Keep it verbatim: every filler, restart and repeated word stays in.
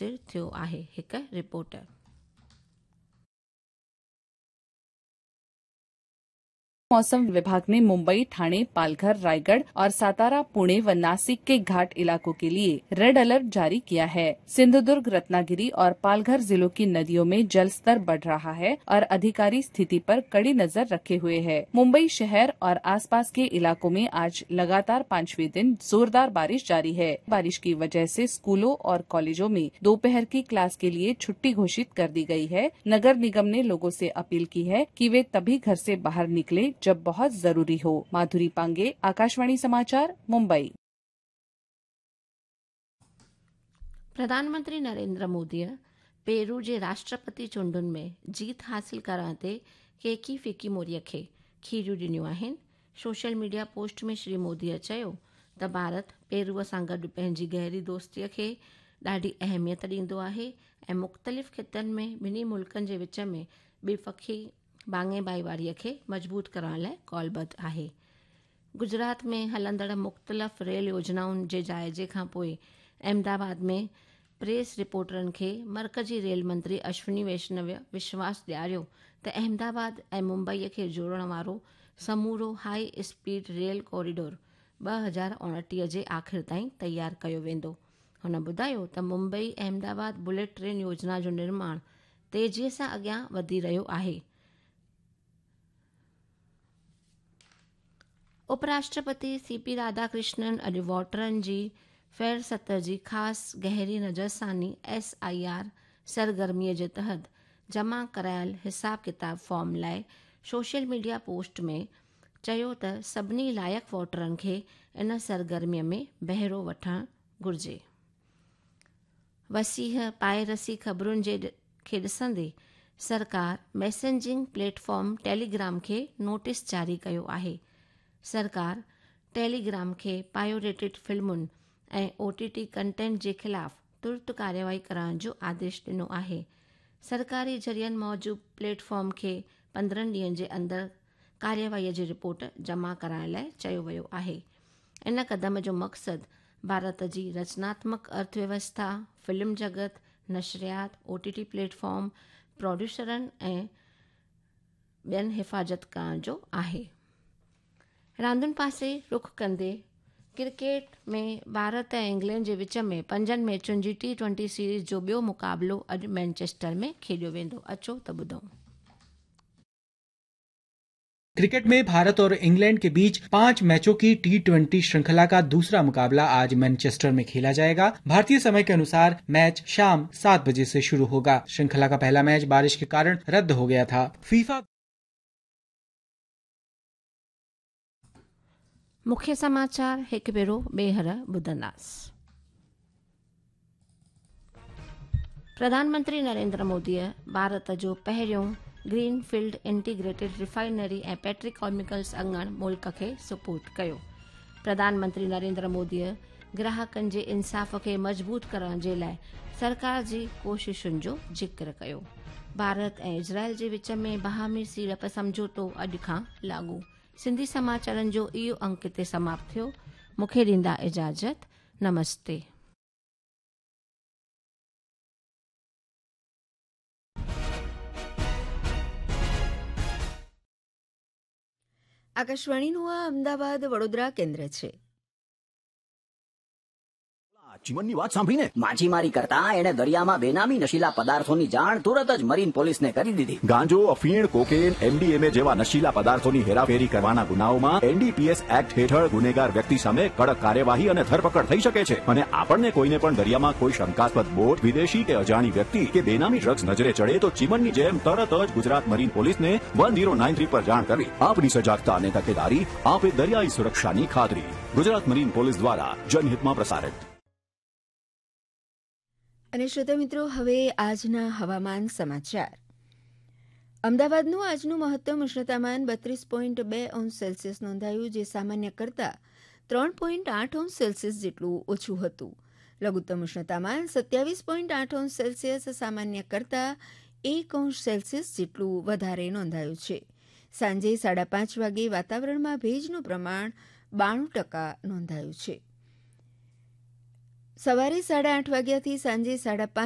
थियो आहे। हिकु रिपोर्ट। मौसम विभाग ने मुंबई, ठाणे, पालघर, रायगढ़ और सातारा, पुणे व नासिक के घाट इलाकों के लिए रेड अलर्ट जारी किया है। सिंधुदुर्ग, रत्नागिरी और पालघर जिलों की नदियों में जल स्तर बढ़ रहा है और अधिकारी स्थिति पर कड़ी नजर रखे हुए हैं। मुंबई शहर और आसपास के इलाकों में आज लगातार पांचवें दिन जोरदार बारिश जारी है। बारिश की वजह से स्कूलों और कॉलेजों में दोपहर की क्लास के लिए छुट्टी घोषित कर दी गई है। नगर निगम ने लोगों से अपील की है कि वे तभी घर से बाहर निकले जब बहुत जरूरी हो। माधुरी पांगे, आकाशवाणी समाचार, मुंबई। प्रधानमंत्री नरेंद्र मोदीअ पेरू जे राष्ट्रपति चूंडुनि में जीत हासिल करण ते केकी फिकी मोरीअ खे खीरियूं ॾिनियूं आहिनि। सोशल मीडिया पोस्ट में श्री मोदीअ चयो त भारत पेरूअ सां गॾु पंहिंजी गहरी दोस्तीअ खे ॾाढी अहमियत ॾींदो आहे ऐं मुख़्तलिफ़ ख़ितनि में ॿिन्ही मुल्कनि जे विच में ॿिपखी भाङे भाईवारीअ खे मज़बूत करण लाइ कॉलबद्ध आहे। गुजरात में हलंदड़ मुख़्तलिफ़ रेल योजनाउनि जे जाइज़े खां पोइ अहमदाबाद में प्रेस रिपोर्टरनि खे मर्कज़ी रेल मंत्री अश्विनी वैष्णव विश्वास ॾियारियो त अहमदाबाद ऐं मुंबईअ खे जोड़ण वारो समूरो हाई स्पीड रेल कॉरिडोर ٻه هزار اڻٽيهه जे आख़िर ताईं तयारु कयो वेंदो। हुन ॿुधायो त मुंबई अहमदाबाद बुलेट ट्रेन योजना जो निर्माण तेज़ीअ सां अॻियां वधी रहियो आहे। उपराष्ट्रपति सी पी राधाकृष्णन अॼु वोटरनि जी फ़हरिस्त जी ख़ासि गहरी नज़रसानी एस I R सरगर्मीअ जे तहत जमा करायल हिसाब किताब फॉर्म लाइ सोशल मीडिया पोस्ट में चयो त सभिनी लाइक़ वोटरनि खे इन सरगर्मीअ में बहिरो वठणु घुरिजे। वसीह पायरसी ख़बरुनि जे खे ॾिसंदे सरकार मैसेजिंग प्लेटफॉर्म टेलीग्राम खे नोटिस जारी कयो आहे। सरकार टेलीग्राम खे पायरेटेड फ़िल्मुनि ऐं ओ टी टी कंटेंट जे ख़िलाफ़ तुर्त कार्यवाही करण जो आदेश ॾिनो आहे। सरकारी ज़रियनि मूजिबि प्लेटफॉर्म खे पंद्रहं ॾींहनि जे अंदरि कार्यवाहीअ जी रिपोर्ट जमा कराइण लाइ चयो वियो आहे। इन क़दम जो मक़सदु भारत जी रचनात्मक अर्थव्यवस्था, फ़िल्म जगत, नशरियात, ओ टी टी प्लेटफॉर्म, प्रोड्यूसरनि ऐं ॿियनि हिफ़ाज़त करण जो आहे। रांदुनि पासे रुख कंदे क्रिकेट में भारत ऐं इंग्लैंड जे विच में पंजनि मैचुनि जी टी ट्वेंटी सीरीज़ जो ॿियो मुक़ाबिलो अॼु मैनचेस्टर में खेॾियो वेंदो। अचो त ॿुधूं। क्रिकेट में भारत और इंग्लैंड के बीच पांच मैचों की टी ट्वेंटी श्रृंखला का दूसरा मुकाबला आज मैनचेस्टर में खेला जाएगा। भारतीय समय के अनुसार मैच शाम सात बजे से शुरू होगा। श्रृंखला का पहला मैच बारिश के कारण रद्द हो गया था। फीफा मुख्य समाचार हिकु भेरो ॿीहर ॿुधंदासीं। प्रधानमंत्री नरेंद्र मोदीअ भारत जो पहिरियों ग्रीनफील्ड इंटीग्रेटेड रिफाइनरी ऐं पेट्रोकेमिकल्स अंगण मुल्क खे सुपुर्द कयो। प्रधानमंत्री नरेंद्र मोदीअ ग्राहकनि जे इंसाफ़ खे मज़बूत करण जे लाइ सरकार जी कोशिशुनि जो ज़िक्र कयो। भारत ऐं इज़राइल जे विच में बाहमी सीड़प सम्झौतो अॼु खां लागू। सिंधी समाचारनि जो इहो अंक हिते समाप्त थियो। मूंखे ॾींदा इजाज़त। नमस्ते। આકાશવાણીનું આ અમદાવાદ વડોદરા કેન્દ્ર છે. ચીમનની વાત સાંભળીને માછીમારી કરતા એણે દરિયામાં બેનામી નશીલા પદાર્થોની જાણ તુરત જ મરીન પોલીસને કરી દીધી. ગાંજો, અફીણ, કોકેન, એમડીએમએ જેવા નશીલા પદાર્થોની હેરાફેરી કરવાના ગુનાઓમાં એનડીપીએસ એક્ટ હેઠળ ગુનેગાર વ્યક્તિ સામે કડક કાર્યવાહી અને ધરપકડ થઈ શકે છે. અને આપણને કોઈને પણ દરિયામાં કોઈ શંકાસ્પદ બોટ, વિદેશી કે અજાણી વ્યક્તિ કે બેનામી ડ્રગ્સ નજરે ચડે તો ચીમનની જેમ તરત જ ગુજરાત મરીન પોલીસને વન ઝીરો નાઇન થ્રી પર જાણ કરવી. આપની સજાગતા અને તકેદારી આપે દરિયાઈ સુરક્ષાની ખાતરી. ગુજરાત મરીન પોલીસ દ્વારા જનહિતમાં પ્રસારિત. અને શ્રોતા મિત્રો, હવે આજના હવામાન સમાચાર. અમદાવાદનું આજનું મહત્તમ ઉષ્ણતામાન બત્રીસ પોઈન્ટ બે અંશ સેલ્સિયસ નોંધાયું, જે સામાન્ય કરતાં ત્રણ પોઈન્ટ આઠ અંશ સેલ્સિયસ જેટલું ઓછું હતું. લઘુત્તમ ઉષ્ણતામાન સત્યાવીસ પોઈન્ટ આઠ અંશ સેલ્સિયસ સામાન્ય કરતાં એક અંશ સેલ્સિયસ જેટલું વધારે નોંધાયું છે. સાંજે સાડા પાંચ વાગે વાતાવરણમાં ભેજનું પ્રમાણ બાણું ટકા નોંધાયું છે. સવારે સાડા આઠ વાગ્યાથી સાંજે સાડા પાંચ